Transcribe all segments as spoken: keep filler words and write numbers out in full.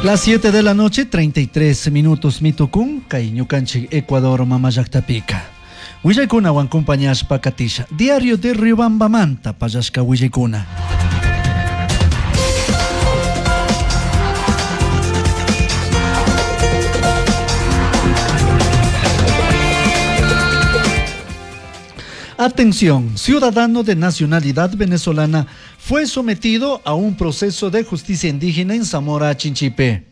Las siete de la noche, treinta y tres minutos, mitucún, kay ñukanchik Ecuador mamallaktapica. Willaykunawan compañashpa katisha. Diario de Riobambamanta pallashka willaykuna. Atención, ciudadano de nacionalidad venezolana fue sometido a un proceso de justicia indígena en Zamora Chinchipe.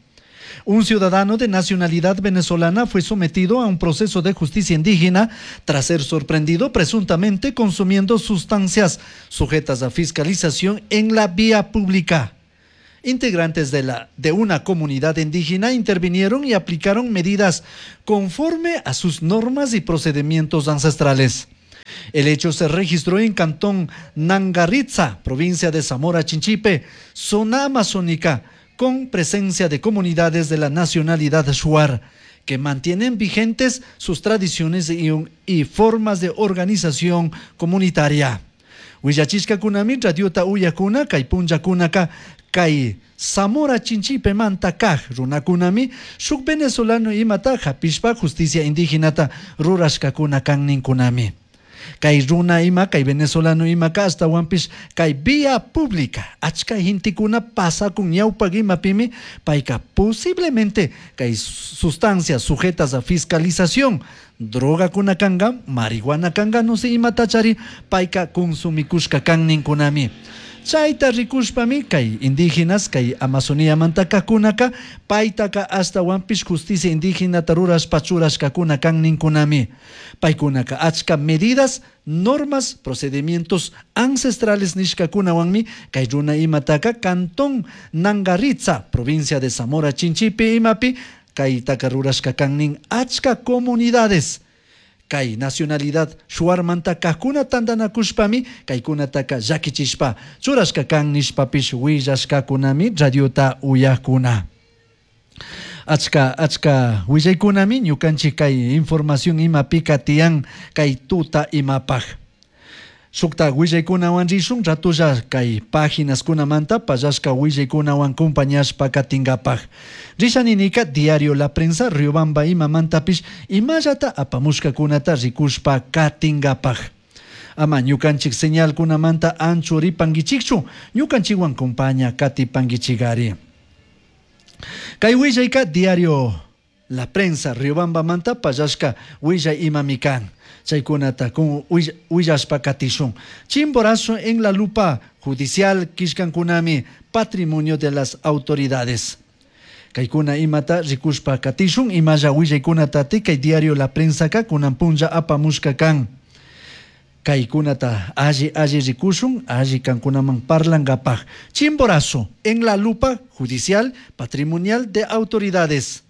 Un ciudadano de nacionalidad venezolana fue sometido a un proceso de justicia indígena tras ser sorprendido presuntamente consumiendo sustancias sujetas a fiscalización en la vía pública. Integrantes de la, de una comunidad indígena intervinieron y aplicaron medidas conforme a sus normas y procedimientos ancestrales. El hecho se registró en Cantón Nangaritza, provincia de Zamora Chinchipe, zona amazónica, con presencia de comunidades de la nacionalidad shuar, que mantienen vigentes sus tradiciones y, un, y formas de organización comunitaria. Huillachishka kunami, radiota uyakuna, kay punllakunaka, kay Zamora Chinchipe manta kaj runakunami, shuk venezolano imata hapishpa justicia indígenata rurashkakuna kanninkunami. Kay runa ima, kay venezolano ima ka astawanpish kay vía pública achka gentekuna pasakun ñawpak imapimi payka posiblemente kay sustancias sujetas a fiscalización, drogakuna kanga, marihuana kanga, no sé imatachari payka consumikushka kanninkunami. Chayta rikushpami kay indígenas kay Amazonía mantakakunaka paytaka astawanpish justicia indígena rurashpa churashkakuna kanninkunami. Paykunaka achka medidas, normas, procedimientos ancestrales nishkakunawanmi kay runa imataka Cantón Nangaritza, provincia de Zamora Chinchipe imapi kaytaka rurashka kannin achka comunidades. Kay nacionalidad shuarmanta kajkuna tantanakushpami kaykunataka llakichishpa churashka kan nishpapish willashkakunami radiota uyakuna. Achka achka willaykunami ñukanchik kay información imapika tiyan kay tuta imapaj. Shukta willaykunawan rishun ratulla kay páginas-kunamanta pallashka willaykunawan compañashpa katingapaj. Rishaninika Diario La Prensa Riobamba imamantapish imallata apamushkakunata rikushpa katingapaj. Ama ñukanchik señalkunamanta anchuripankichikchu ñukanchikwan compaña katipankichikari. Kay willayka Diario La Prensa Riobambamanta pallashka willay imami kan. Chaykunata kun willashpa katishun. Chimborazo en la lupa judicial kishkankunami patrimonio de las autoridades. Kaykuna imata rikushpa katishun imalla willaykunata kay Diario La Prensa ka kunan punlla apamushka kan. Kaykunata alli alli rikushun alli kankunaman parlangapaj. Chimborazo en la lupa judicial patrimonial de autoridades.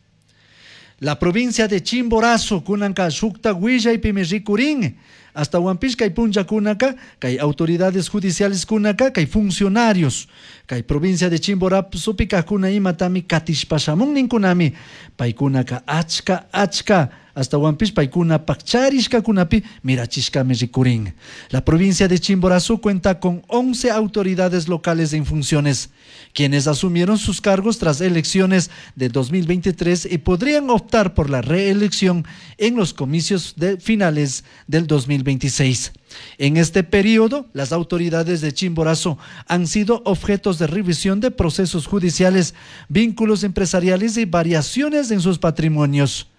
La provincia de Chimborazo, kunanka shukta willaypimi rikurin. Hasta Huampis kay punlla kunaka, kay autoridades judiciales kunaka, kay funcionarios. Kay provincia de Chimborazo pika kuna imatami katishpashamun ninkunami. Paykunaka achka achka. Hasta Huampis paykuna pakcharishka kunapi mirachishkami rikurin. La provincia de Chimborazo cuenta con once autoridades locales en funciones, quienes asumieron sus cargos tras elecciones de dos mil veintitrés y podrían optar por la reelección en los comicios de finales del dos mil veintiséis. En este periodo, las autoridades de Chimborazo han sido objetos de revisión de procesos judiciales, vínculos empresariales y variaciones en sus patrimonios.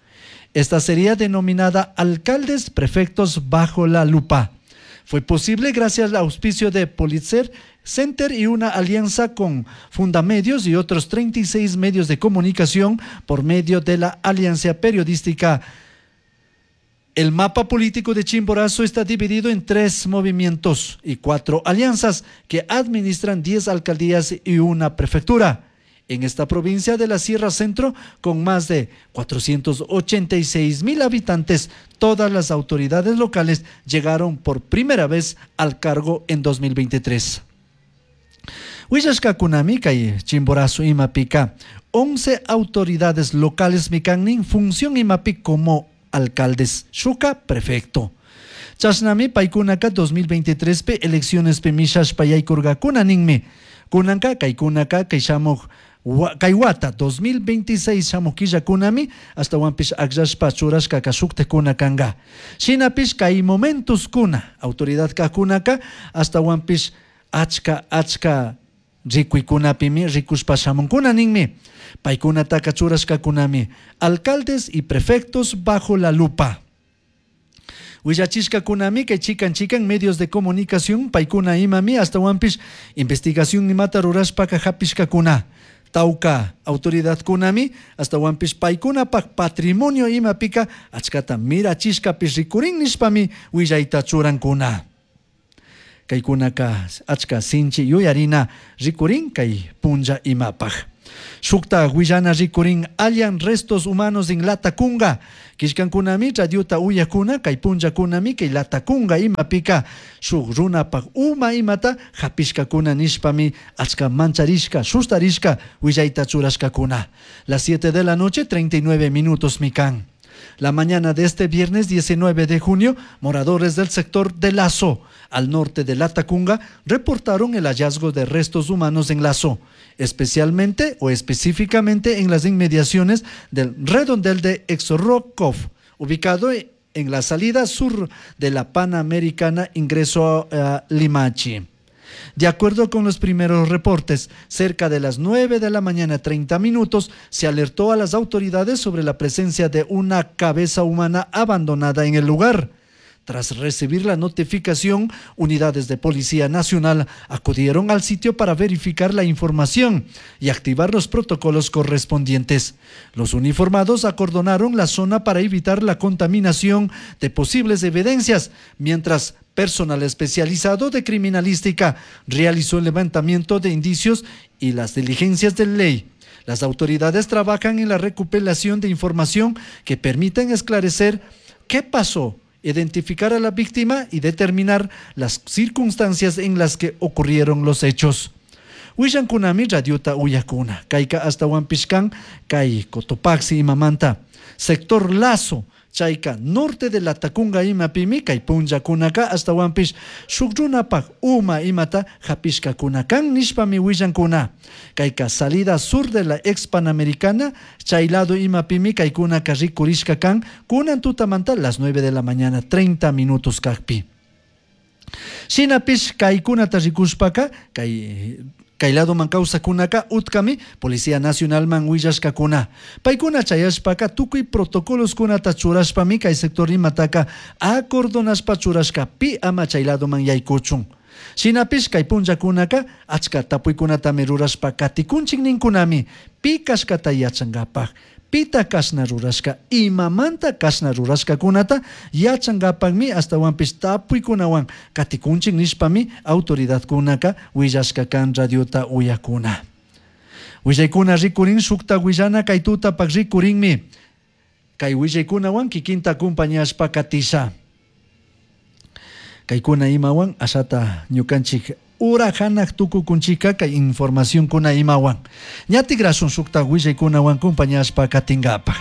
Esta sería denominada alcaldes prefectos bajo la lupa. Fue posible gracias al auspicio de Pulitzer Center y una alianza con Fundamedios y otros treinta y seis medios de comunicación por medio de la Alianza Periodística. El mapa político de Chimborazo está dividido en tres movimientos y cuatro alianzas que administran diez alcaldías y una prefectura. En esta provincia de la Sierra Centro, con más de cuatrocientos ochenta y seis mil habitantes, todas las autoridades locales llegaron por primera vez al cargo en dos mil veintitrés. Huillashkakunami kay Chimborazo imapika, once autoridades locales mikannin función imapi como alcaldes, shuka prefecto. Chashnami paykunaka dos mil veintitrés pe elecciones pe mishashpa yaykurkakuna ninmi. Kunanka kaykunaka kay shamuj Kay wata dos mil veintiséis shamuj killakunami ashtawanpish akllashpa churashkaka shuktikuna kanka. Shinapish kay momentoskuna autoridad kajkunaka ashtawanpish achka achka rikuykunapimi rikushpa shamunkuna ninmi. Paykunataka churashkakunami alcaldes y prefectos bajo la lupa. Willachishkakunami kay chikan chikan medios de comunicación paykuna imami ashtawanpish investigación imata rurashpaka hapishkakuna. Tauka autoridadkunami ashtawanpish paykunapak patrimonio imapika achkata mirachishkapish rikurin nishpami willayta churankuna. Kaykunaka achka sinchi yuyarina rikurin kay punlla imapaj. Shukta willana rikurin hallan restos humanos en Latacunga. Kishkankunami radiota uyakuna kay punllakunami kay Latacunga imapika shuk runapak uma imata hapishkakuna nishpami achka mancharishka sustarishka willayta churashkakuna. Las siete de la noche treinta y nueve minutos mikan. La mañana de este viernes diecinueve de junio, moradores del sector de Lazo, al norte de Latacunga, reportaron el hallazgo de restos humanos en Lazo, especialmente o específicamente en las inmediaciones del redondel de Exorrokov, ubicado en la salida sur de la Panamericana, ingreso a Limachi. De acuerdo con los primeros reportes, cerca de las nueve de la mañana treinta minutos, se alertó a las autoridades sobre la presencia de una cabeza humana abandonada en el lugar. Tras recibir la notificación, unidades de Policía Nacional acudieron al sitio para verificar la información y activar los protocolos correspondientes. Los uniformados acordonaron la zona para evitar la contaminación de posibles evidencias, mientras personal especializado de criminalística realizó el levantamiento de indicios y las diligencias de ley. Las autoridades trabajan en la recopilación de información que permiten esclarecer qué pasó, identificar a la víctima y determinar las circunstancias en las que ocurrieron los hechos. Willankunami radiota uyakuna, kayka hasta Huampishkan, kay Cotopaxi imamanta, sector Lazo, chayka norte de Latacunga imapimi, kay punllakunaka hasta Huampish, shuk runapak uma imata hapishkakunakan nishpami willankuna. Kayka salida sur de la ex Panamericana, chay lado imapimi kaykunaka rikurishka kan, kunan tutamanta las nueve de la mañana treinta minutos kakpi. Shinapish kaykunata rikushpaka, kay Kay lado man kawsakunaka utkami Policía Nacional man willashkakuna. Paykuna chayashpaka tukuy protocoloskunata churashpami kay sector imataka acordonashpa churashka pi ama chay lado man yaykuchun. Shinapish kay punllakunaka achka tapuykunatami rurashpa katikunchik ninkunami pi kashkata yachankapak. Pita kashna rurashka, imamanta kashna rurashkakunata yachankapakmi ashtawanpish tapuykunawan katikunchik nishpami autoridadkunaka willashka kan radiota uyakuna. Willaykuna rikurin shukta willana kay tutapak rikurinmi. Kay willaykunawan kikinta acompañashpa katisha. Kaykuna imawan ashata ñukanchik ura hanak tukukunchika kay información kuna imawan. Ñatigrasun shukta willaykunawan acompañashpa katinkapak.